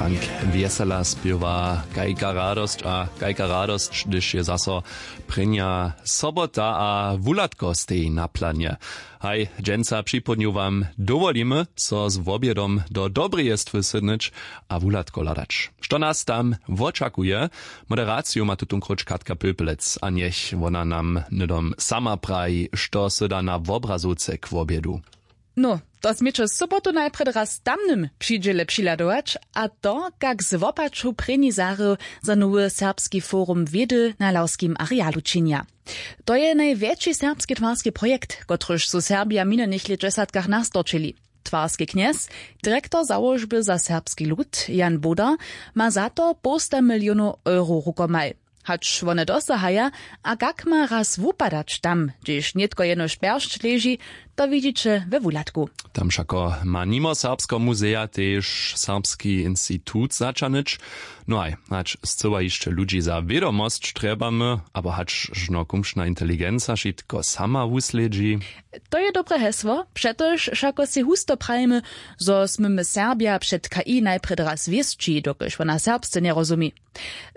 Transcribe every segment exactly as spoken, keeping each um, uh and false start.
Frank wjesela spěwa kajka radosć a kajka radosć, hdyž je zaso prěnja sobota a wuhladko steji na planje. Haj, dźensa připołdnju wam dowolimy so z wobjedom do dobreje stwy sydnyć a wuhladko hladać, što nas tam wočakuje. Moderaciju ma tutón króć katka pylpelec a njech wona nam hnydom sama praji, što sy da na wobrazowce k wobjedu. No, to směće sobotu najprjedy raz tamnym přidźěle přihladować, a to kak z wopaču prěni zahry za nowy serbski forum wědy na lawskim arealu činja. To je najwjetši serbski twarski projekt, kotryž su serbja w minjenych lětdźesatkach nastorčili. Twarski knjez, direktor załožby za serbski lud, jan boda, ma za to połsta milionow euro rukomaj. Hač wone dosahaja, a kak ma raz wupadać tam, hdźež nětko jenož pjeršć leži, to widźiće we wuhladku. Tam wšako ma nimo serbskeho muzeja tež serbski institut začanyć. No haj, hač scyła hišće ludźi za wědomosć trjebamy, abo hač žno kumšna inteligenca wšitko sama wuslědźi. To je dobre hesło, přetož wšako sej husto prajimy, zo smy my serbja před k i najprjedy raz wěsći, dokelž wona serbsce njerozumi.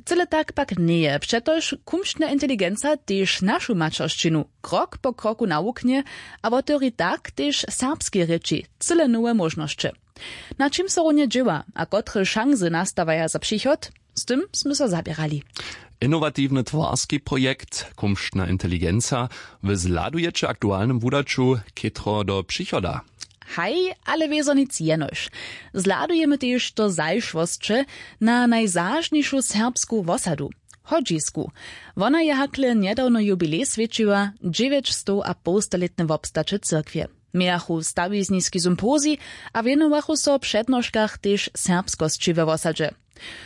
Cyle tak pak njeje, přetož kumšna inteligenca tež našu maćeršćinu krok po kroku nawuknje a wotewri tak tež serbskej rěči cyle nowe móžnosće. Na čim so runje dźěła a kotre šansy nastawaja za přichod, z tym smy so zaběrali. Inowatiwny twarski projekt kumšna inteligenca, wy zhladujeće w aktualnym wudaću chětro do přichoda? Haj, ale wězo nic jenož. Zhladujemy tež do zašłosće na najzažnišu serbsku wosadu, hodźisku. Wona je hakle njedawno jubilej swjećiła, dźewjećstowapołstalětne wobstaće cyrkwje. Mějachu stawizniski sympozij a wěnowachu so w přednoškach tež serbskosći we wosadźe.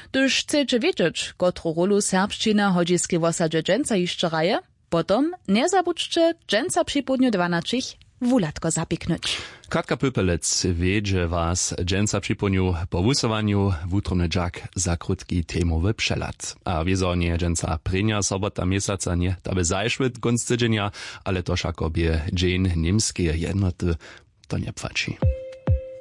Hdyž chceće wědźeć, kotru rólu serbšćina w hodźiskej wosadźe dźensa hišće hraje, potom njezabudźće dźensa připołdnju dwanaćich wuhladko zapiknyć. Katka pypelec wjedźe was dźensa připołdnju po wusyłanju wutrobny dźak za krótki temowy přehlad. A wězo njeje dźensa prěnja sobota měsaca, nje ta by zašły kónc tydźenja, ale to wšako bě dźeń němskeje jednoty. To njepłaći.